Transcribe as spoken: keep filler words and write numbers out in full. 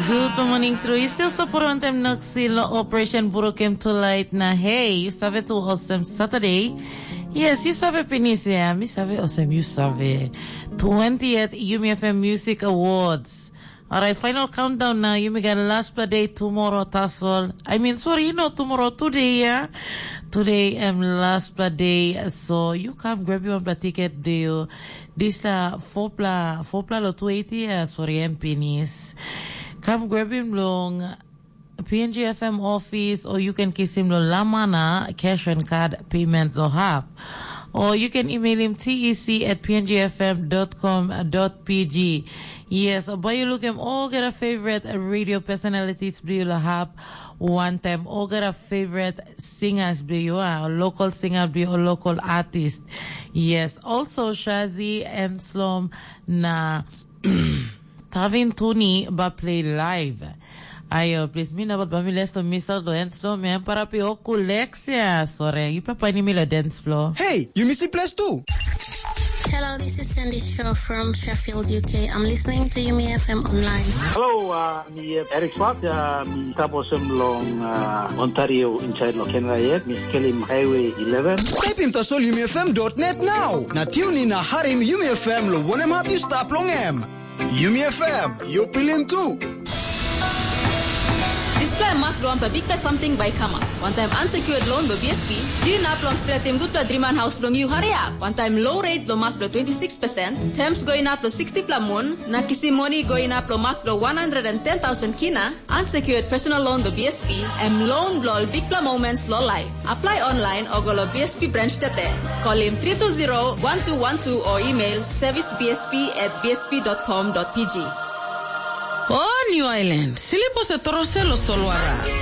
Good morning, true. You still support on them Noxil Operation Burokem tonight. Na hey, you save to awesome Saturday. Yes, you save pinis, yeah. Mi save awesome, you save. Twentieth Yumi F M Music Awards. Alright, final countdown now. Yumi got last play day tomorrow, Tasol. I mean, sorry, you know tomorrow, today, yeah. Today, um, last play day. So you come grab your one ticket, do you? This uh, four pla, four pla lo two eighty, uh, sorry, M P Nis. Come grab him long P N G F M office, or you can kiss him lo Lamana cash and card payment lo hap. Or you can email him T E C at P N G F M dot com dot P G. Yes, but you look him all get a favorite radio personalities do you lo hap. One time, all get a favorite singers do you are, local singer do you, or local artist. Yes, also Shazi and Slom na Tavin Tuni ba play live. Ayo, please, mi nabat ba mi lesto miss out lo dance floor, mi ampara pi oku Lexia. Sore, you papa ni mi lo dance floor. Hey, you miss the place too. Hello, this is Sandy Shaw from Sheffield, U K. I'm listening to Yumi F M online. Hello, uh, mi uh, Eric Swart, uh, mi taposem long uh, Ontario inside lo Canada yet, mi skelim Highway eleven. Taipim tasol yumi F M dot net now. Na tune in na harim Yumi F M lo wanem hap you stap long em. Yumi F M, you pilim tu. Dispela mak bilong wanpela bikpela samting bai i kamap. Wantaim unsecured loan bilong B S P, yu inap long stretim gutpela driman haus bilong yu hariap. Wantaim low rate bilong mak bilong twenty-six percent, terms go inap long sixty-pela mun, na kisim moni go inap long mak bilong one hundred and ten thousand kina, unsecured personal loan bilong B S P, em loan bilong ol bikpela moments long life. Apply online o go lo B S P branch today. Call him three two zero one two one two or email service B S P at B S P dot com dot P G. O New Island, silipo se torosel o solwara.